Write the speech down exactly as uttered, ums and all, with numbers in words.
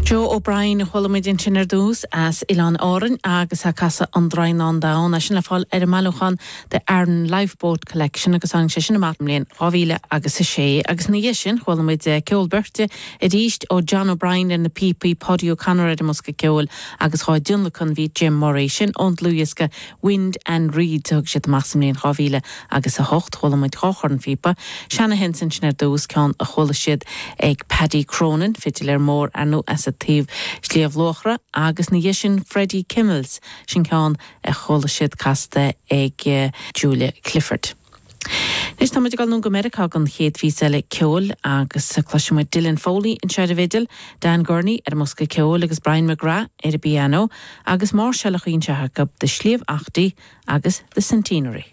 Joe O'Brien chuala muid ansin ar dtús as Oileáin Árann agus ag casadh an Draighneán Donn é sin le fáil ar an mbailiúchán The Aran Lifeboat Collection agus tháinig sé sin amach sa mbliain dhá mhíle agus a sé agus ina dhiaidh sin chuala muid ceol beirte arís ó John O'Brien ar na píopaí Paddy O'Connor ar an mbosca ceoil agus á thionlacan bhí Jim Murray sin ón dlúthdhiosca Wind and Reed thug siad amach sa mbliain dhá mhíle agus a hocht chuala muid dhá chornphíopa Shanahan sin sin ar dtús ceann a chuala siad ag Paddy Cronin fidiléir mór arnú as a taobh Sliabh Luachra agus ina dhiaidh sin Freddie Kimmels sin ceann a chuala siad casta ag uh, Julia Clifford. Anois tá muid ag dul go Meiriceá don chéad phíosa eile ceoil agus cloisfimid Dylan Foley anseo ar an bhfidil, Dan Gurney ar an mbosca ceoil agus Brian McGrath ar an bpianó agus máirseáil a chuaigh acu de Sliabh Eachtaí agus the Centenary.